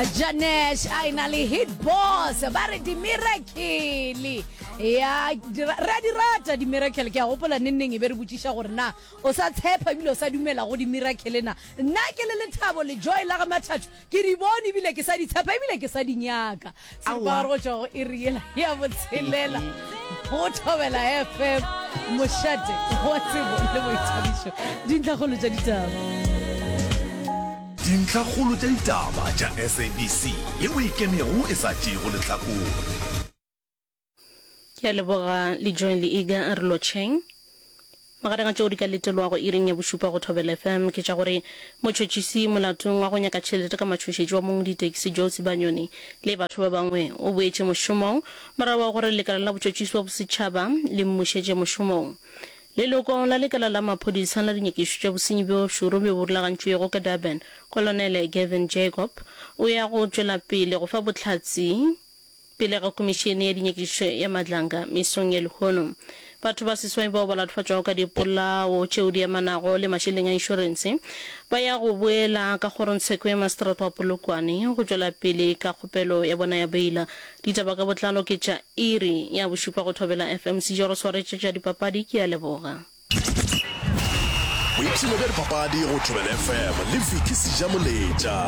Janesh a ena le hit boss ba re di-miracle ya re a di rata di-miracle ke a gopola nenneng e be re botšiša gore na o sa tshepa ebile o sa dumela go di-miracle na nna ke le lethabo le joy la ga mathatho ke di bone ebile ke sa di tshepa ebile ke sa di nyaka seripagare go tšwa go iri yela ya botshelela go thobela fm mošate wa tsebo le boithabišo dintlhakgolo tša ditaba Dintlhakgolo tša ditaba tša SABC yeo e ikemego e sa tšeego lehlakore. Ke a leboga le Joy le Iga a re lotšheng. Magareng a tšeo di ka letelwago iring ya bošupa go Thobela FM ke tša gore motšhotšhisi molatong wa go nyaka tšhelete ka matšhošetši wa mong ditekisi Joe Sibanyoni le batho ba bangwe o boetše mošomong morago ga gore lekala la botšhotšhisi wa bosetšhaba le mmušetše mošomong. Leloko la lekala la maphodisa la dinyakišišo tša bosenyi bjo šoro bjo bo rulagantšwego ka Durban, Kolonele Gavin Jacob o ya go tšwela pele go fa bohlatse Pele ga Khomišene ya Dinyakišišo ya Madlanga mesong ya lehono, batho ba seswai bao ba latofatšwago ka dipolao tšeo di amanago le mašeleng a inšorense ba ya go boela ka kgorongtsheko ya maseterata wa Polokwane go tšwela pele ka kgopelo ya bona ya beila. Ditaba ka botlalo ke tša iri ya bošupa go Thobela FM. Sejoro swaretše tša dipapadi, ke a leboga. Boipshino bja dipapadi go Thobela FM le Vicky Sejamoletša.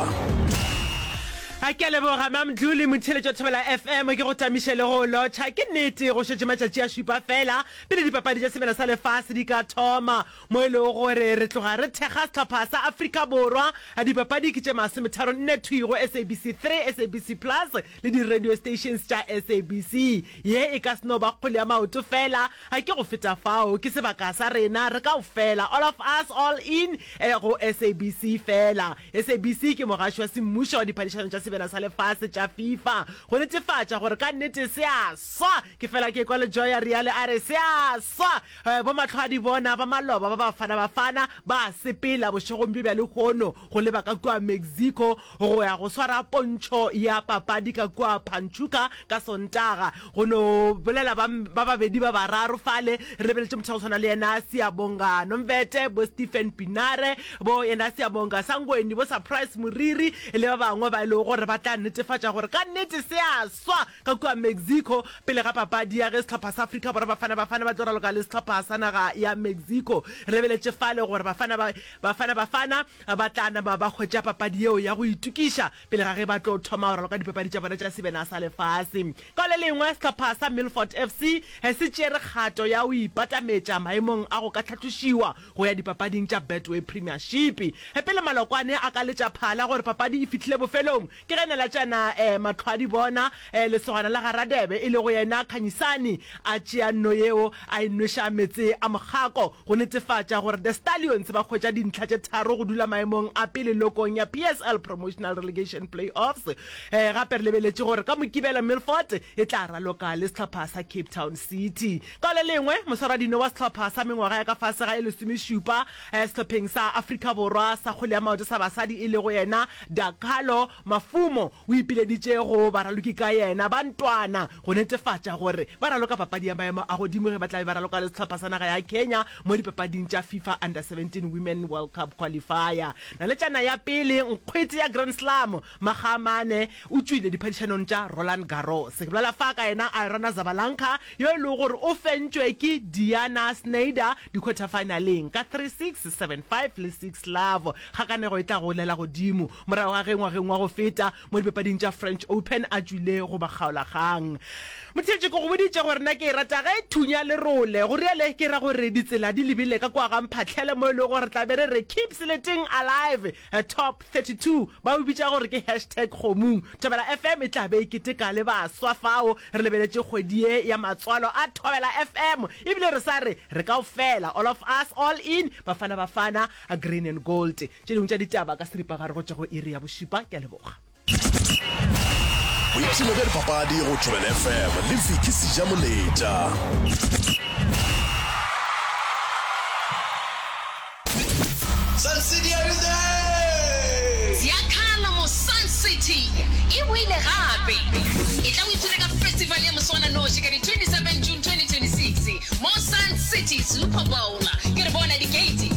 A ke a leboga Mamdluli motheeletši wa Thobela FM ke go tamiše le go lotšha. Ke nnete go šetše matšatši a šupa fela pele dipapadi tša Semela sa Lefase di ka thoma mo e lego gore re tloga re thekga sehlopha sa Afrika Borwa. Dipapadi ke tše masometharonne thwi go SABC 3, SABC Plus le di radio stations tša SABC. Ye e ka se no ba kgwele ya maoto fela, A ke go feta fao, ke sebaka sa rena re kaofela, all of us, all in, go SABC fela. SABC ke mogaši wa semmušo wa diphadišano tša Sebjana sa Lefase tša FIFA. Go netefatša gore ka nnete se a swa, ke fela ke ekwa Lejoy a realo a re, Se a swa! Bomahlwaadibona ba maloba ba Bafana Bafana ba a sepela bošegong bjo bja lehono go leba ka kua Mexico go ya go swara pontšho ya papadi ka kua Panchuka ka Sontaga. Go no bolela ba, ba babedi ba bararo fale, re lebeletše motho wa go tshwana le yena Siyabonga Nomvete, bo Stephen Pinare, bo yena Siyabonga Sangweni, bo Surprise Moriri le ba bangwe ba e lego gore ba tla netefatša gore ka nnete se a swa ka kua Mexico pele ga papadi ya ge sehlopha sa Afrika Borwa Bafana Bafana ba tlo raloka le sehlopha sa naga ya Mexico. Re lebeletše fale gore Bafana ba, Bafana Bafana Ba tla nama ba hwetša papadi yeo ya go itokiša pele ga ge ba tlo thoma go raloka dipapadi tša bona tša Sebena sa Lefase. Ka le lengwe, sehlopha sa Milford FC se tšere kgato ya go ipatametša maemong a go ka hlatlošiwa go ya dipapading tša Betway Premiership. Pele malokwane a ka letša phala gore papadi e fihlile bofelong, Ke ge Nalatšana Matlhoadibona, lesogana la ga Radebe, e lego yena Khanyisani, a tšea nno yeo a e nweša meetse a mokgako go netefatša gore The Stallions ba hwetša dintlha tše tharo go dula maemong a pele lokong ya PSL Promotional Relegation Play-offs. Gape re lebeletše gore ka Mokibelo Milford e tla raloka le sehlopha sa Cape Town City. Ka le lengwe, moswaradino wa sehlopha sa mengwaga ya ka fase ga e lesomešupa sehlopheng sa Afrika Borwa sa kgwele ya maoto sa basadi e lego yena Dakalo Mafumo o ipileditše go baraloki ka yena ba ntwana go netefatša gore ba raloka papadi ya maemo a godimo ge ba tla be ba raloka le sehlopha sa naga ya Kenya mo dipapading tša FIFA Under 17 Women World Cup Qualifier. Naletšana ya pele nkgwete ya Grand Slam makga a mane o tšwile diphadišanong tša Roland Garros. Ke bolela fa ka yena Aryna Sabalenka yo e lego gore o fentšwe ke Diana Shnaider dikhwethafaenaleng ka 3-6, 7-5 le 6-love. Kgakanego e tla golela godimo morago ga ge ngwageng wa go feta mo dipapading tša French Open a tšwile go makgaolakgang. Motheetši, ke go boditše gore na ke e rata ge e thunya lerole. Go riale ke ra gore ditsela di lebile ka kua ga Mphahlele mo e lego gore re tla be re re Keep Seleteng Alive Top 32 ba o bitša gore ke hashtag kgomung. Thobela FM e tla be e keteka le baswa fao re lebeletše kgwedi ye ya matswalo a Thobela FM ebile re sa re re kaofela, all of us, all in, Bafana Bafana, Green and Gold. Tše dingwe tša ditaba ka seripagare go tšwa go iri ya bošupa. Ke a leboga. Boipshino bja dipapadi go Thobela FM le Vicky Sejamoletša. Sun City are you there? Ziakhala mo Sun City e boile gape! Etla o ipshine ka festival ya moswananoši ka di 27 June 2026 mo Sun City Super Bowl. Ke re bona di-gate.